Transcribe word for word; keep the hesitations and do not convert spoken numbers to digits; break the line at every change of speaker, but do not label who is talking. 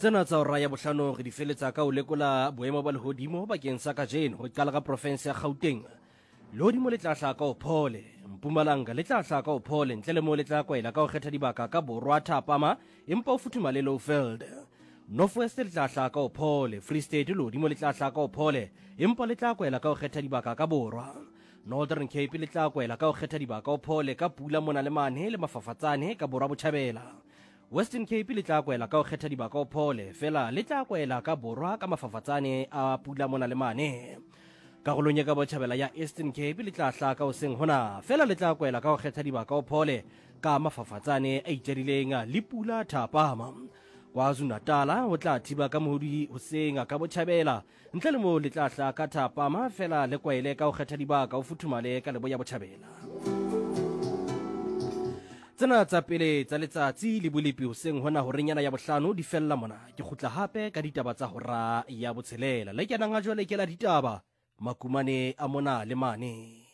Tsena tsa hora ya bohlano re di feletsa ka ho lekola boemo ba lehodimo bakeng sa kajeno. Re qala ka profense ya Gauteng. Lehodimo le tla hlaha ka ho phole. Mpumalanga le tla hlaha ka ho phole, ntle le moo le tla kwaela ka ho kgetha dibaka ka borwa thapama, empa o futhumale Lowveld. North West le tla hlaha ka ho phole. Free State lehodimo le tla hlaha ka ho phole, empa le tla kwaela ka ho kgetha dibaka ka borwa. Northern Cape le tla kwaela ka ho kgetha dibaka ho phole ka pula mona le mane le mafafatsane ka borwa botjhabela. Western Cape le tla kwela ka ho kgetha dibaka ho phole, fela le tla kwela ka borwa ka mafafatsane a pula mona le mane. Karolong ya ka botjhabela ya Eastern Cape le tla hlaha ka hoseng hona, fela le tla kwela ka ho kgetha dibaka ho phole ka mafafatsane a itjadileng le pula thapama. KwaZulu-Natal ho tla thiba ka mohodi hoseng ka botjhabela, ntle le moo le tla hlaha ka thapama, fela le kwaele ka ho kgetha dibaka ho futhumale ka leboya botjhabela. Tsena tsa pele tsa letsatsi le bolepi hoseng hona horenyana ya bohlano di fella mona. Ke kgutla hape ka ditaba tsa hora ya botshelela. Le kenang ha jwale ke la ditaba makumane a mona le mane.